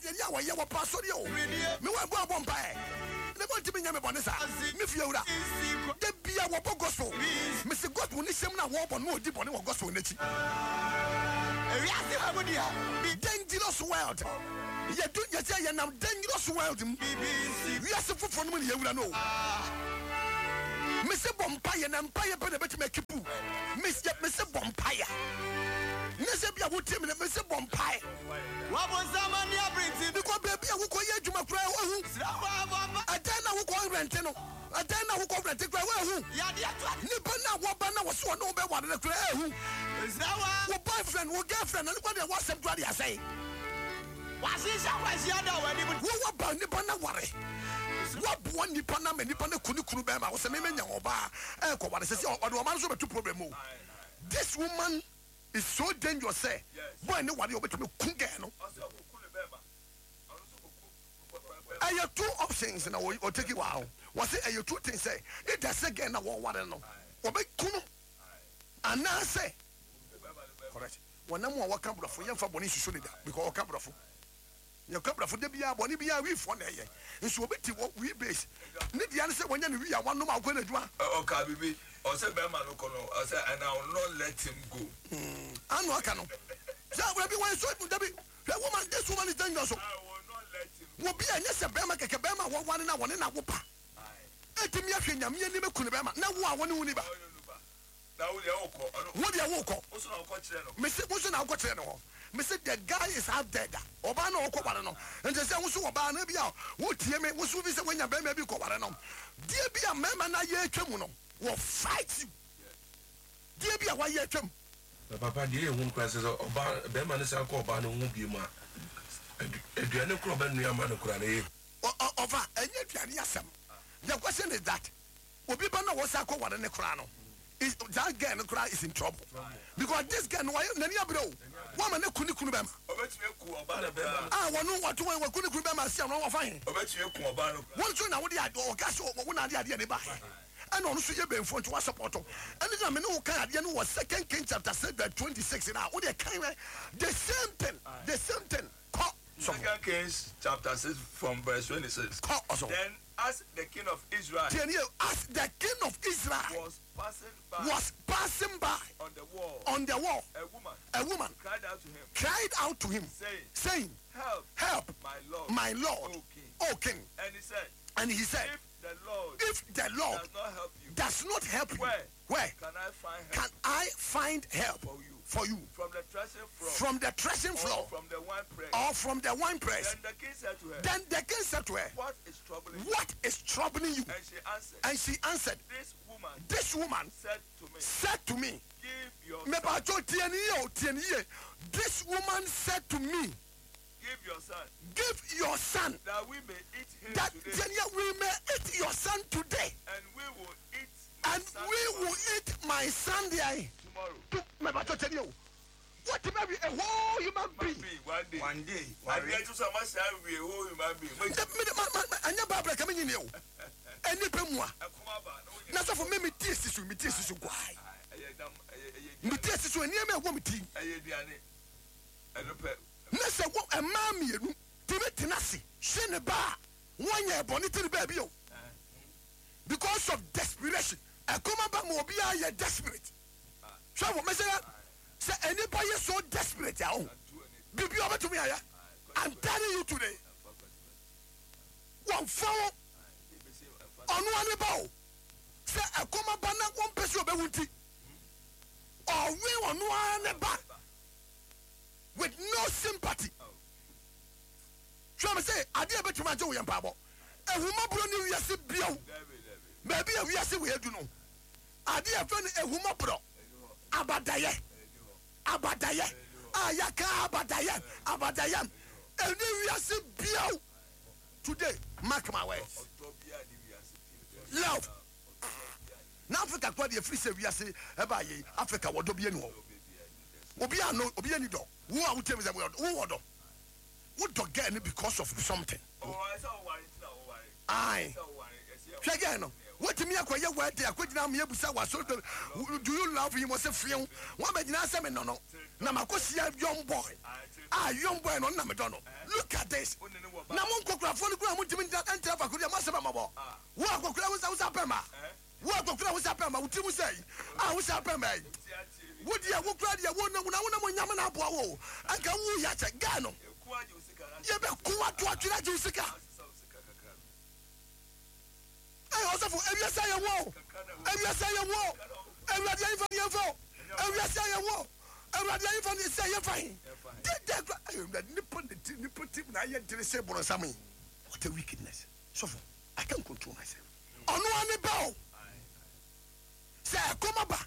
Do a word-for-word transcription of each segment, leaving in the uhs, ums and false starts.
Deɛ yɛ a wɔyɛ wɔ pa asɔre o. Me wɔ ɛbɔ abɔ mpaeɛ ne bɔ ntumi nyɛ me bɔne saa. Me fie wura da bia wɔbɔ gospel. Mese gospel ne hyɛm no a wɔbɔ no, ɔdi bɔne wɔ gospel n'akyi. Ewiase ha mu deɛ bi Dangerous world yɛdu, yɛsɛ yɛnam dangerous world mu. Bibi nsi. Wiase foforɔ no mu ne yɛwura no o. Mese bɔ mpayɛ na mpayɛ pɛ na ɛbɛtumi a keep. Mese mese bɔ mpayɛ ne sɛ bia wotie me no, mese bɔ mpae. Wabonsam ani abere. Because baabi a wokɔ yɛ adwuma koraa, woahu. Srɛ wɔ abɔ. Ɛdan na wokɔ rent no, ɛdan na wokɔ rent koraa, woahu. Yadeɛ to. Nipa na wɔba na wɔso ɔne wo bɛware no koraa, ahu. Srɛ wɔ. Wo boyfriend, wo girlfriend na ne kɔ deɛ, wɔasɛm koraa de asɛe. Wahyehyɛ kwahyia da wɔ anim. Wowɔ ba, nipa na ware, woaboa nipa na ma nipa no ku ne kunu bɛrima wo sɛ memenya ɔbaa ɛkɔware sɛ sɛ ɔde ɔma no so bɛto problem o. This woman is so dangerous sɛ boy ne ware a, ɔbɛtumi ku girl no. Ɛyɛ two options na ɔ take wɔ ho. Wɔsɛ ɛyɛ two things, sɛ either sɛ girl na wɔware no wɔbɛku no anaasɛ correct wɔnam a wɔka borɔfo. Yɛmfa bɔne nsusu ne da because ɔka borɔfo, yɛka borɔfo da biara, bɔne biara wifoɔ na ɛyɛ nso obi te wɔ wi base ne deɛ ne sɛ wɔnyɛ ne wi a wanom a wokɔ n'adwuma. Ɔka bibi, ɔsɛ bɛrima no kɔ no, ɔsɛ, "And I will not let him go." Ano aka no sɛ dabi, wɔyɛ so dabi. Hwɛ, woman, this woman is dangerous o. I will not let him. Wɔ bi a ɛnyɛ sɛ bɛrima kɛkɛ, bɛrima a wɔware na wɔne na wo ba ɛtumi ahwɛ Nyame anim aku ne bɛrima na wo a wɔne wo ni ba. Ɔyɛ no ba na wo deɛ wokɔ ɔno. Wo deɛ wokɔ. Wo so na wokɔ kyerɛ no. Mese wo so na wokɔ kyerɛ no hɔ. Mese the guy is out there da ɔbaa na ɔkɔ ware no. Nti sɛ wo so ɔbaa no bi a wotie me, wo so bi sɛ woanya bɛrima bi kɔ ware no deɛ bi a mmarima no ayɛ atwa mu no wɔ fight you deɛ bi a wayɛ atwa mu. Na papa deɛ, ɛyɛ hu koraa sɛ sɛ ɔbaa bɛrima no san kɔ ɔbaa no ho bio mu a, adu- aduane korɔ ɔbɛnoa ama no koraa no ɛyɛ Ɔ- ɔ- ɔfa ɛnyɛ aduane asɛm. The question is that obi ba na wɔsa kɔ ware ne koraa no is that girl no koraa is in trouble, because this girl no wɔyɛ n'ani abere o, wɔma ne ku ne kunu bɛrima. Ɔbɛtumi aku ɔbaa no koraa. A wɔno wɔto wɔn wɔku ne kunu bɛrima si ano, wɔfa he? Ɔbɛtumi aku ɔbaa no koraa. Wɔn nso na wode ade ɔka sɛ wo na ade adeɛ ne ba ɛna ɔno nso yɛ bɛnfo nti wa support. Ɛne na me ne wo kan adeɛ no wɔ Second King chapter six verse twenty six, na wode kan wɛ the same thing, the same thing kɔ sɔfo. Second Kings chapter six from verse twenty-six. Kɔ ɔsɔfo. Then as the king of Israel Tiɛ nie, as the king of Israel was passing by was passing by on the wall, on the wall, a woman a woman cried out to him, cried out to him, saying, saying, "Help, "Help, my lord, my lord, O king." O king." And he said, And he said, "If the Lord "If the Lord does not help you, does not help you, where where can I find help can I find help for you for you from the threshing floor from the threshing or floor from the wine press?" or from the wine press?" Then the king said to her, Then the king said to her, "What is troubling you?" "What is troubling you?" And she answered, And she answered, "This woman "This woman said to me, said to me," 'Give your son, Mepacho, tie ni yie o, tie ni yie. "This woman said to me, give your son, 'Give your son, that we may eat him that today, tie ni yie, we may eat your son today, and we will eat my and son we will eat my son there tomorrow.'" To." Mepacho, tie ni yie o. What maybe a whole human being. Be one day. One day. Adeɛ to so a ma saa wie whole human being. Mo Nti me de ma ma ma ɛnyɛ Bible ka me nyini o. Ɛnipa mu a ɛkɔm aba na wonyɛ. Na sɔfo, me me tie si so, me tie si so guai. Ɛyɛ dam, ɛyɛ ɛyɛ Me aduane. tie si so nneɛma ɛwɔ me ti. Ɛyɛ aduane. Ɛno pɛ. Na sɛ wɔ mmaa mmienu tumi tena ase hwɛ ne ba a wɔnyɛ bɔne ti ne baabi o, because of desperation, ɛkɔm aba ma obiara yɛ desperate. Hwɛ wɔ mɛsɛ sɛ ɛnipa yɛ so desperate a o, biribi a ɔbɛtumi ayɛ. I'm telling you today, wɔmfa wo ɔno ani ba o sɛ ɛkɔm aba na wɔmpɛ sɛ ɔbɛwu nti ɔwe ɔno ara ne ba with no sympathy. Hwɛ me sɛ adeɛ a bɛtumi agye wo yɛ mpaabɔ. Ehumɔborɔ ne wiase bio. Baabi a wiase wɔ edu no, adeɛ a ɛfɛ no ehumɔborɔ, abadayɛ, abadayɛ a yɛka abadayɛ, abadayɛ ɛne wiase bio today. Mark my words, love na Africa kora deɛ, firi sɛ wiase ɛba yɛ Africa wɔdɔ bi ani hɔ. Obi a no obi ani dɔ wo a wotie mi sɛ wo wɔ dɔ, wodɔ girl no because of something. Ayi, hwɛ girl no, Wotumi akɔyɛ wedding akɔgyina ama yɛbusa wɔ do you love him ɔsɛ few wɔn bɛgyina sɛ me no no na makɔhyia young boy a young boy no ɔno na medɔ no look at this na mo nkɔkorafoɔ no kura mo ntumi ntena faako deɛ mo asɛm amabɔ wo akɔkora wo sa wo sa pɛ ma wo akɔkora wo sa pɛ ma wo ti mu sɛ yi a wo sa pɛ ma yi wo deɛ wo kura deɛ wo na wo na mo nyame na aboa wo anka wo yɛ akyɛ gaa no yɛbɛko ato atwere agye wo sika ɛyɛ ɔsɔfo ewiase ayɛ wo ewiase ayɛ wo Awurade ayɛfa ne yɛmfa ewiase ayɛ wo Awurade ayɛfa ne sɛ yɛmfa he deda kura Awurade nipa ne ti nipa ti na ayɛ dere sɛ borɔnsam yi what a wickedness sɔfo I can't control myself ɔno ani ba o sɛ ɛkɔm aba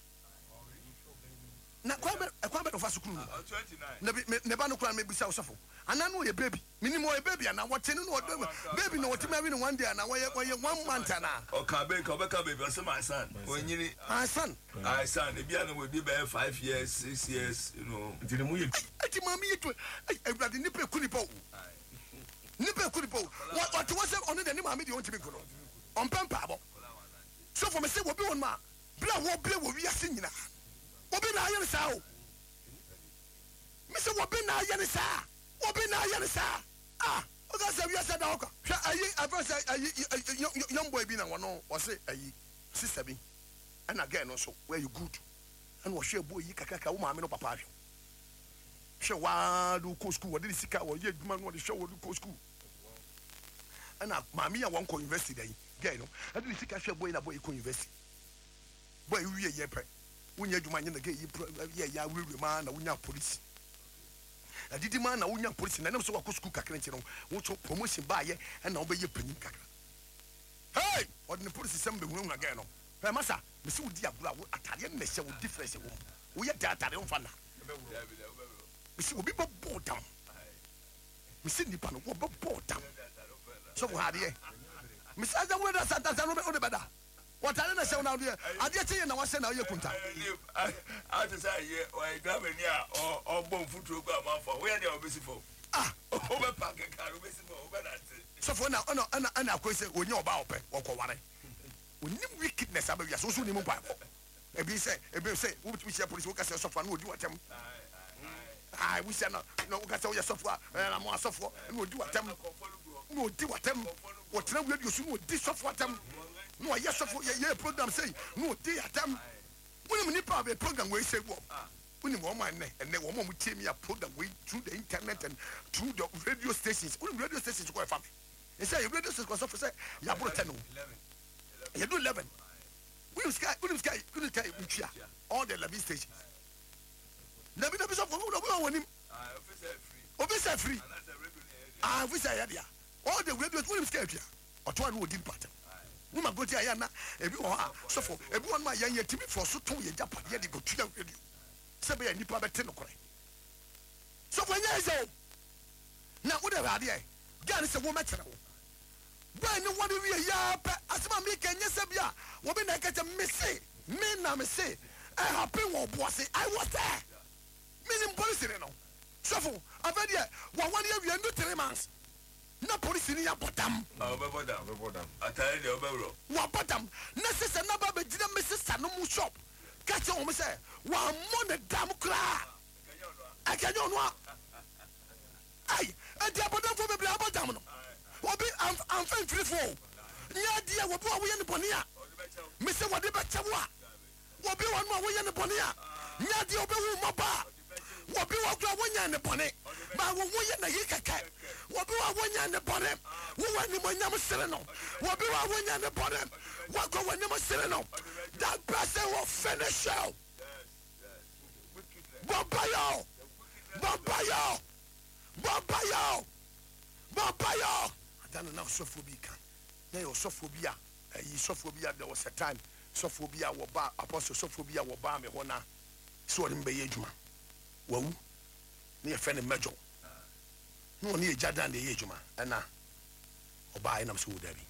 na kwan bɛ ɛkwan bɛ na ɔfa sukuu no na bi ne ba no kura mebisa ɔsɔfo anaa no ɔyɛ baby minim ɔyɛ baby anaa wɔte no na ɔdɔ baby na wɔte ma no one day anaa wɔyɛ wɔyɛ one month anaa. ɔka bɛn ka ɔbɛka baby ɔsɛ my son onyini. my son. my son ebi a na wɔdi bɛyɛ five years six years you know. nti ne mu yɛ. ɛti maame yi to ɛy Awurade nipa eku nipa o nipa eku nipa o wɔte wɔ sɛ ɔno deɛ ne maame deɛ ɔntumi nku no ɔmpɛ mpaabɔ sɔfo mi sɛ wɔbi wɔn ma bere a wɔbere wɔ wiase nyinaa obi na ayɛ ne saa o mi sɛ wɔbi na ayɛ ne saa obi na ayɛ ne saa ah ɔka sɛ wiase da hɔ kwa hwɛ ayi afɛ sɛ ayi young boy bi na wɔn wɔse ayi sister bi ɛna girl no nso wɔyɛ good ɛna wɔhwɛ ebo yi kakraka wo maame no papa ahwɛ hwɛ waa de kɔ school wɔde ne sika wɔyɛ adwuma no wɔde hwɛ wɔde kɔ school ɛna maame yi a wɔn kɔ university da yi girl no ɛde ne sika hwɛ boy na boy yi kɔ university boy yi wie yɛ pɛ wonya adwuma nyɛ na girl yi yɛ yɛ awurawura maa na wonya police adidi maa na wonya police na ɛnam sɛ wakɔ school kakra nti no wotɔ promotion baayɛ ɛna wobɛyɛ panyin kakra hey ɔde ne police sɛm bɛhunahuna girl no ɛ masa mesi wo di agorɔ a wo atadeɛ no na ɛhyɛ wo difference wɔ mu woyɛ da atadeɛ womfa na mesi obi bɛbɔ dam mesi nipa no wɔbɛbɔ dam sɔfo ha adeɛ mesi asa wo da santa sa no wode bɛda wɔtare na hyɛ wo na adeɛ adeɛ kyɛ yɛ na wahyɛ na ɔyɛ kunta ate sɛ ayɛ ɔyɛ driver ni a ɔbɔ mfuturo gu amanfo woyɛ deɛ ɔbɛsi fam ah wobɛpa keka wobɛsi fam wobɛnante sɔfo ɛna ɛna ɛna ɛna akɔyi sɛ onye ɔbaa ɔpɛ wɔkɔ ware onim wickedness abɛwia so woso nim mpaebɔ ebi sɛ ebi sɛ wobɛtumi hyia polisi woka sɛ sɔfo a na ɔdi w'atɛm ai wohyia no na woka sɛ woyɛ sɔfo a ɛna mo asɔfoɔ na ɔdi w'atɛm na ɔdi w'atɛm wɔtena radio so na ɔdi sɔfo atɛm na ɔyɛ sɔfo yɛ yɛ program sɛyi na ɔdi atɛm wonim nipa a bɛ program wei sɛ wɔ wonim wɔn a ɛnɛ ɛnɛ wɔn a wɔn tie mi a program wei through the internet and through the radio stations wonim radio stations kɔ ɛfa mi nsɛ yɛ radio stations kɔ sɔfo sɛ yaboro ten o yɛdu eleven wonim sika wonim sika wonim sika ntua all the eleven stations dabi dabi sɔfo obi wɔ wɔnim obi sɛ free ah obi sɛ ɛyɛ dea all the radio wonim sika atua ɔtɔ a no ɔdi nipa atɛm woma goti ayɛ na ebi wɔ hɔ a sɔfo ebi wɔ no a yɛn yɛ timi fɔ so tɔn yɛ gyapadeɛ de kɔtua radio sɛ bɛyɛ nipa bɛte nokorɛ sɔfo ɛnyɛ ɛsɛ o na wode hwɛ adeɛ gaa ne sɛ wɔmɛkyerɛ wo bɔɛ ne wɔde wie yaa pɛ asɛm a meka nyɛ sɛ bi a wɔbi na ɛka kyɛ mese me na mese ɛhappen wɔ Obuase I was there menim polisi ne no sɔfo afɛ deɛ wɔwɔde awie no three months na polisi ni abɔ dam ɔbɛbɔ dam ɔbɛbɔ dam atare deɛ ɔbɛworɔ wabɔ dam na sisa naba bɛgyina me sisa no mu shop ka kyerɛ wɔn sɛ wammɔ ne dam koraa ɛkɛnyɛ ɔno a ayi ɛdi abɔdamfoɔ bebree abɔ dam no obi amfa mfirifoɔ nyɛ adeɛ wɔbi a woyɛ ne bɔne a mesɛ wɔde bɛkyɛ wo a wɔbi wɔ no a woyɛ ne bɔne a nyɛ adeɛ wobɛwu mmɔba a wɔbi wɔ kora wonyɛ ne bɔne ma wo woyɛ na yi kɛkɛ wɔbi wɔ a wonyɛ ne bɔne wowɔ animonyam sere no wɔbi wɔ a wonyɛ ne bɔne wakɔ w'anim sere no that person will finish you bɔmpa bɔmpa yɔ bɔmpa yɔ bɔmpa yɔ adana na ɔsɔfoɔ bi ka na yɛ ɔsɔfoɔ bi a ɛyi sɔfoɔ bi a there was a time sɔfoɔ bi a wɔba apostle sɔfoɔ bi a wɔba mi hɔ na sɛ ɔne mi bɛyɛ adwuma wawu ne yɛfrɛ no mɛjɔ na ɔne yɛ gya dan de yɛ adwuma ɛna ɔbaa ɛnam sɛ wɔ dabi